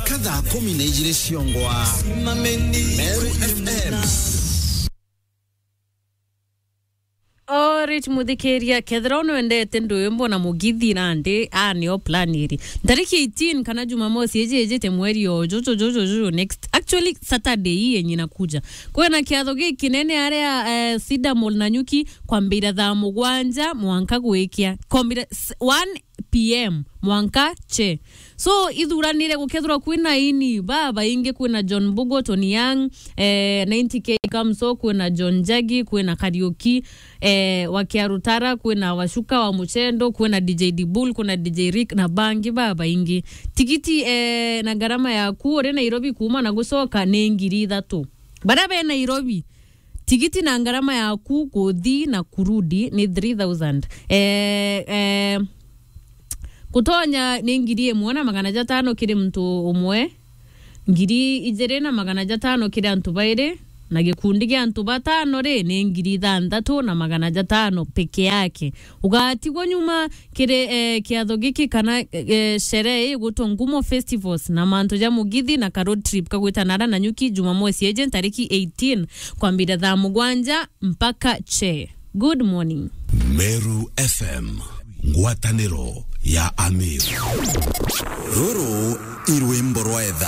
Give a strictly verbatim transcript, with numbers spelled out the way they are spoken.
Ka thaa kumi na ijiri ciongwa. Meru F M. Alright, muthikiria, kethira nwendete ndwimbo na mugithi nandi, aa, nio plan iri. Ntariki eighteen kana Jumamosi iji ijite mweri o juju, juju, juju, next. Actually, Saturday hii yenye inakuja. Kwina kiatho gikinene aria, eh, Cedar Mall Nanyuki, kwambira thaa mugwanja mwanka gwikia. Kwambira s-, one P M mwanka che. So, ithuranire gukethirwa kwina ini babaingi, kwina John Mbugo, Tony Young, eh, ninety K Kamso, kwina John Njagi, kwina Kariuki, eh, wa Kiarutara, kwina Washuka wa Muchendo, kwina D J Dibul, kwina D J Rick na bangi babaingi. Tigiti, eh, na ngarama yaku uri Nairobi kuuma na gucoka ni ngiri ithatu. Baria be Nairobi, tigiti na ngarama yaku kuthi na kurudi ni three thousand. Eh, eh, gutonya ni ngiri imwe na magana jatano kiri muntu umwe, ngiri ijiri na magana jatano kiri antu bairi, na gikundi gia antu batano ri, ni ngiri ithanthatu na magana jatano peke yake. Ugatigwa nyuma kiri, eh, kiatho giki kana, eh, sherehe ii igwitwa Ngumo Festivals na mantu ja mugithi na ka road trip kagwita nara Nanyuki Jumamosi iji ntariki eighteen kwambira thaa mugwanja mpaka che. Good morning. Meru F M, ngwataniro ya Ameru. Ruru i rwimbo rwa etha.